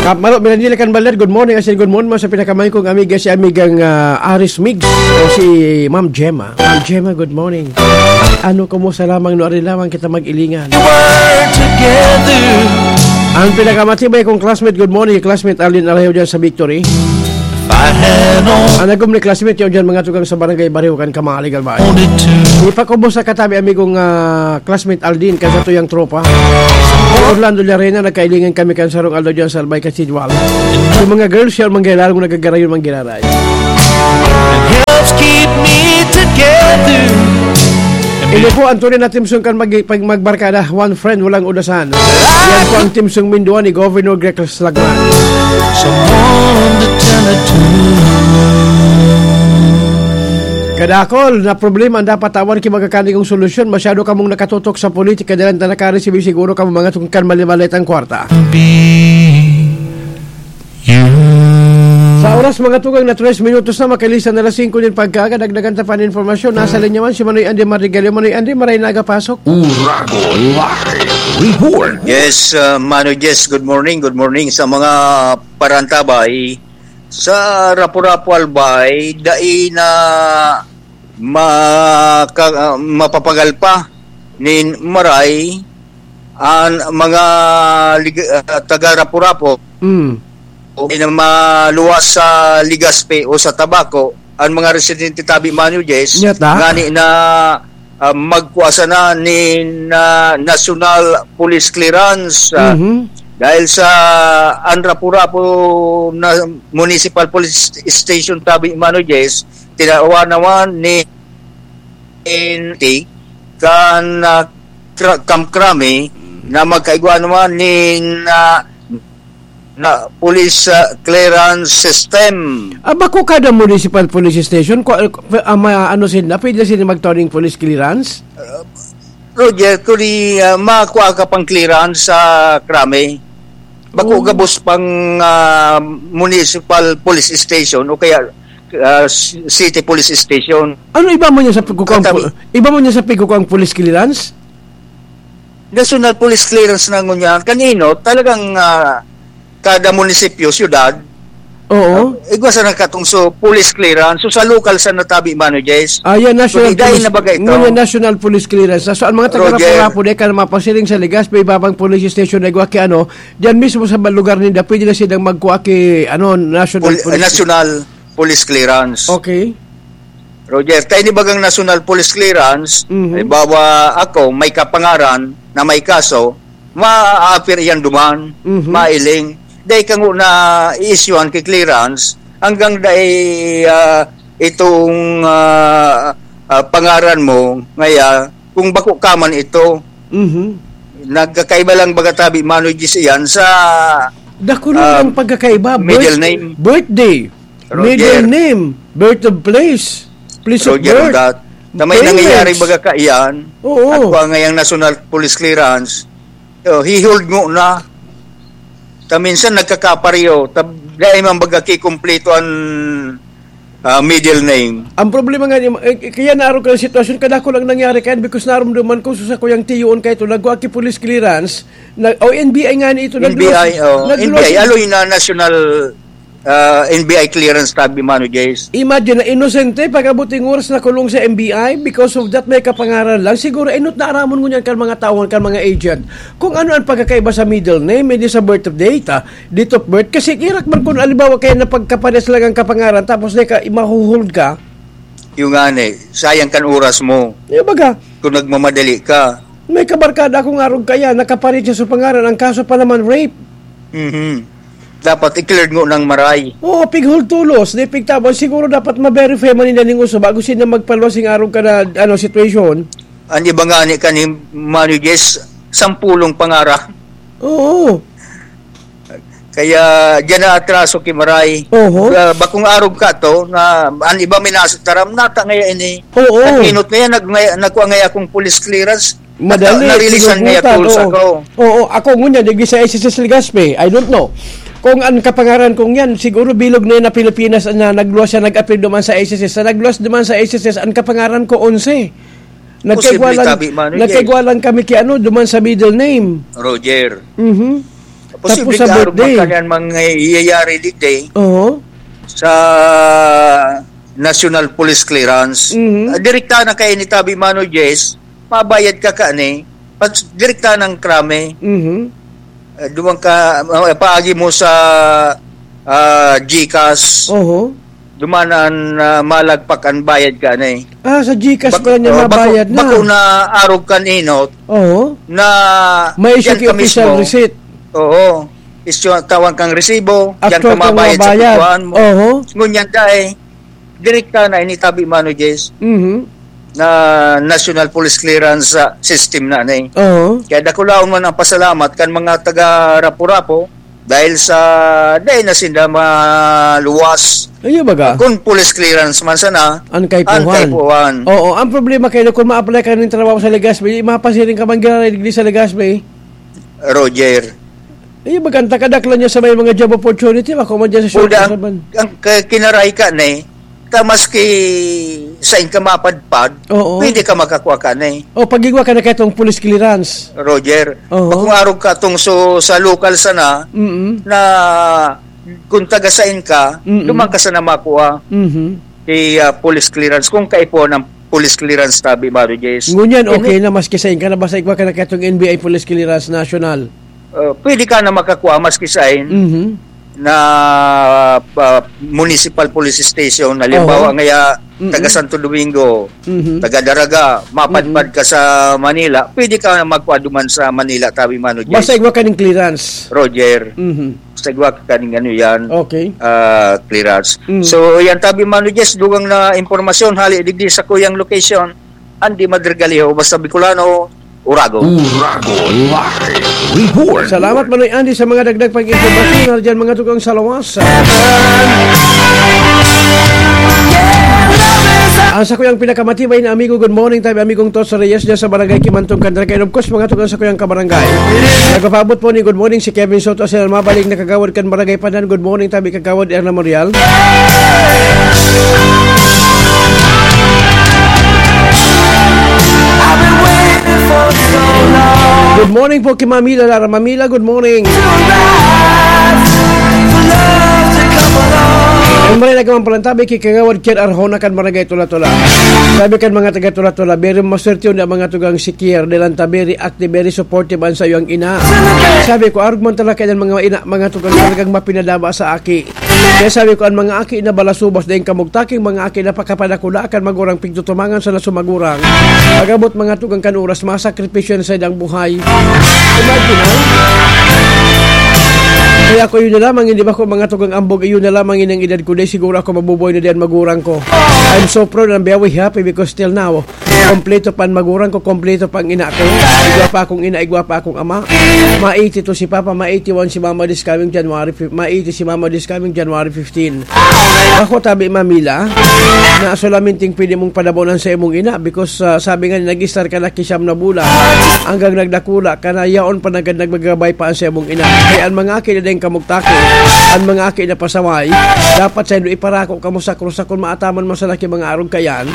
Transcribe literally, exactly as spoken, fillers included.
Kap Malo, Mirandila kan Baler, good morning. Asin good morning mo sa pinakamay kong amiga, si amigang, ah, Aris Migs o si Ma'am Gemma. Ma'am Gemma, good morning. Ano, kumusta lamang no? Ari lamang kita mag-ilingan. We're together. Ang pinakamatibay kong classmate, good morning, classmate Arlene Arayho dyan sa Victory. If I had all Ang nagum ni classmate yun dyan, mga tugang sa barangay Bariho kan Kamali, Galbay. Wanted to. Ipakubos sa katabi, amigong, ah, classmate Aldin, kan sa tuyang tropa. Orlando Llarena, nagkailingan kami kan sarong aldaw dyan sa Albay Cathedral. Yung mga girls, yung manggalaw, nagagarayon, manggiraray. Helps keep me together. Ini po ang tunay na theme song kan mag-, pag magbarkada, One Friend, Walang Udasan. Yan po ang theme song mindua ni Governor Gregorio Lagman. Someone to turn it to. Kadakol na problema ang dapat tawan ki magakani kong solusyon. Masyado kamong nakatutok sa politika, dalan ta nakaresibi siguro kamo mga tungkan malimalit ang kwarta. Be you. Sa oras, mga tugang, na tres minutos na, makalisan na alas singko nin pagkaaga, dagdagan ta pa an impormasyon. Nasa linya man si Manoy Andy Mardigalio. Manoy Andy, maray na aga pasok. Uragon Live Report. Yes, uh, Mano Jess, good morning, good morning sa mga parantabay. Sa Rapu-Rapu Albay, dai na maka-, ah, mapapagal pa nin maray an mga lig-, ah, taga Rapu-Rapu. Mm. O di na maluwas sa Legazpi o sa Tabaco, ang mga residente tabi, Mano Jess, Nyata? ngani na, ah, magkua sana nin, ah, National Police Clearance, ah, Mhm. dahil sa an Rapu-Rapu na Municipal Police Station tabi, Mano Jess, tinawan naman ni N T kan, ah, Kra-, Camp Crame na magkaigwa naman nin, ah, na police, ah, clearance system. Ah, bako kada municipal police station, ku-, ah, ma-, ano sila, pwede sila magtao ning police clearance? Roger, kung di, ah, makuha ka pang clearance sa Crame, bako Oh. gabos pang, ah, municipal police station o kaya, ah, s-, city police station. Ano iba mo niya sa pagkukang Katabi. pu-, iba mo niya sa pagkukang police clearance? National police clearance na ngunyan. Kanino? Talagang, ah, kada munisipyo, syudad, Oo. ah, igwa sa nakatungso, police clearance. So, sa lokal sa natabi, Mano Jess. Ah, yan, So, national di dahil police. na bagay ito. Ngunyan, national police clearance. So, ang mga taga Roger. Rapu-Rapu, di ka na mapasiring sa Legazpi, ibabang police station na igwa ki ano, diyan mismo sa lugar ninda, pwede na silang magkuha ki, ano, national Pol-, police. national police clearance. Okay. Roger, ta ini bagang national police clearance, Mhm. halimbawa ako, may kapangaran na may kaso, ma-appear iyan duman, Mhm. mailing. Dai ka ngunyan i-issuehan ki clearance, hanggang dai, ah, itong, ah, ah, pangaran mo, ngaya, kung bako ka man ito, Mhm. nagkakaiba lang baga tabi, Mano Jess, iyan sa, Dako na um, ang pagkakaiba. middle Birth-, name. birthday. Roger. Middle name, birth of place, place of Roger, birth, that. Na may payments. nangyayari baga kaiyan, Oo. at kung ngayang national police clearance, oh, hihold mo na. Ta minsan nagkakapareho, ta dai man baga kikumpleto an, ah, middle name. Ang problema nga, eh, kaya naroon ka ng sitwasyon, kadako lang nangyari kaya because narumduman ko sa kuyang tiyoon kayo ito, nagwa ki police clearance, na, o N B I nga ni ito, N B I, nagluwas, oh, nagluwas N B I, aloy na national ah, N B I clearance tabi, Mano Jess. Imagine na inosente, pag-abot ning oras nakulong sa N B I, because of that, may kapangaran lang. Siguro, inot na aramon ngunyan kan mga taon, kan mga agent. Kung ano ang pagkakaiba sa middle name, hindi sa birth of date, ah, date of birth. Kasi kirak man kung alibawa kaya na pagkapares lang ang kapangaran, tapos na ka, mahuhold ka. Yung nga, eh, sayang kan oras mo. Yung baga, Kung nagmamadali ka. May kabarkada akong arog kaya, nakaparit siya sa pangaran, ang kaso pa naman, rape. Mhm. Dapat i-clear mo ng maray. Oo, pighultulos, di pigtabon. Siguro dapat ma-verify man nila ning uso bago sila magpaluwas ning arog ka na, ano, situation. Ang iba nga ni kaning Mano Jess, sampulong pangaran. Oo. Kaya diyan na atraso ki maray. Oho. Ah, bakong arog ka to, na an iba minasitaram, nata ngaya ini. Oo. Nag-inot ngaya, nag-, ngaya, nagkuha ngaya akong police clearance. Madali, Nata-, narilisan ngaya pinugutan, tools oo. ako. Oo, ako ngunyan, digdi sa S S S Legazpi, I don't know. Kung ang kapangaran kong yan, siguro bilog na yun na Pilipinas na nagluwas siya, nag-appear duman sa S S S. Sa nagluwas duman sa S S S, ang kapangaran ko, onse. Nagkaigwa Posible lang, tabi man, Roger. nagkaigwa lang kami ki ano, duman sa middle name. Roger. Mhm. Posible Tapos sa ka arog birthday. Magkanian mangyayari digdi Oo. Sa National Police Clearance. Mhm. Ah, direkta na kay ni Tabi Mano Jess, mabayad ka kani, pag direkta ng krami. Mhm. Eh, duman ka, ah, paagi mo sa, ah, GCash. Oho. Duman an, ah, malagpak an bayad ka na eh. Ah, sa GCash Bak-, pala niya oh, bako, mabayad na. Bako na arog kan inot Oo. Na May issue diyan ki ka official mismo. Receipt. Oo. Issue, tawan kang resibo, diyan Actual ka kang mabayad sa mabayad. Kukuhaan mo. Oho. Ngunyan dai, direkta na ini Tabi Mano Jess Mhm. na National Police Clearance, ah, System na ni. Oho. Kaya dakulaon man ang pasalamat kan mga taga Rapu-Rapu dahil sa dai na sinda maluwas. Iyo baga? Kung police clearance man sana, Ang kaipuhan. Ang kaipuhan. Oo, ang problema kayo, kung ma-apply ka ng trabaho sa Legazpi, mapasiring ka man giraray digdi sa Legazpi. Roger. Iyo baga, ang takadaklan niya sa may mga job opportunity, ako man dyan sa short Buda, ang, sa ban. Ang ka-, kinaray ka na eh, ta maski sain ka mapadpad, Oo. Pwede ka makakuha ka na eh. O, pag-igwa ka na kaitong police clearance. Roger, Oo. Kung arog ka tong so, sa local sana, Mm-mm. Na kung taga sain ka, Mm-mm. Duman ka sana makuha Mhm. Kay, ah, police clearance, kung kaipuhan ang police clearance, Tabi Mano Jess. Ngunyan, Ini- okay na, maski sain ka na, basta igwa ka na kaitong N B I police clearance national. Ah, pwede ka na makakuha maski sain Mhm. na, ah, municipal police station. Halimbawa, Oho. Ngaya, Mm-mm. Taga Santo Domingo, Mhm. Taga Daraga, mapadpad Mm-mm. Ka sa Manila, pwede ka na magkuha duman sa Manila, Tabi Mano Jess. Basta igwa ka ning clearance. Roger. Mhm. Sa igwa ka ning ano yan, Okay. Ah, clearance. Mm. So, yan, Tabi Mano Jess, dugang na impormasyon, hali digdi sa kuyang location, Andy Madrigaliho, basta Bicolano, Urago. Urago Live Report. Salamat, Manoy Andy, sa mga dagdag pag-impormasyon. Hali dyan, mga tugang sa lawas. Ang sa kuyang pinakamatibay na amigo, good morning, Tabi, amigong Tos Reyes, dyan sa Barangay Kimantong, Candaraque. And of course, mga tugang sa kuyang kabarangay. Nagpapaabot po ni good morning si Kevin Soto, sa mabalik na kagawad kan Barangay Pandan. Good morning, Tabi, Kagawad Erna Morial. Good morning po kay Mami Lara. Mami La, good morning. Ang maray na gamang palantabi kay Kagawad Kier Arjona kan Barangay Tula-Tula. Sabi kan mga taga Tula-Tula, "Very maswerte yun ang mga tugang si Kier, dahil ang tabi, reactive, very supportive ang sa iyong ina." Sabi ko, "Arog man talaga yan mga ina, mga tugang talagang mapinadaba sa aki." Kaya sabi ko, "Ang mga aki na balasubas, daing kamugtaking mga aki na pakapadakula kan magurang pigtutumangan sa nasumagurang. Pag-abot mga tugang kan oras, masakripisyo na sa idang buhay." Imagine, ha? Kaya ako yun na lamang, hindi ba ko mga tugang ambog, yun na lamang yun ang edad ko, dahil siguro ako mabubuhay na diyan magurang ko. I'm so proud and very happy because till now, kompleto pa ang magurang ko, kompleto pa ang ina ko. Igwa pa akong ina, igwa pa akong ama. Ma-eighty-two si Papa, ma-eighty-one si Mama this coming January fif-, ma-eighty si Mama this coming January fifteen. Ako, tabi, Mamila, na solamente pwede mong padabonan sa imong ina because, ah, sabi nga, nag-start ka na kisiyam na bulan hanggang nagdakula ka na, yaon pa nagad nagbagabay pa ang sa imong ina. Kaya ang mga aki na dayong kamugtaki, ang mga aki na pasaway, dapat sa indo iparako kamo sa krus, sa kung maataman mo sa laki mga arog kayan.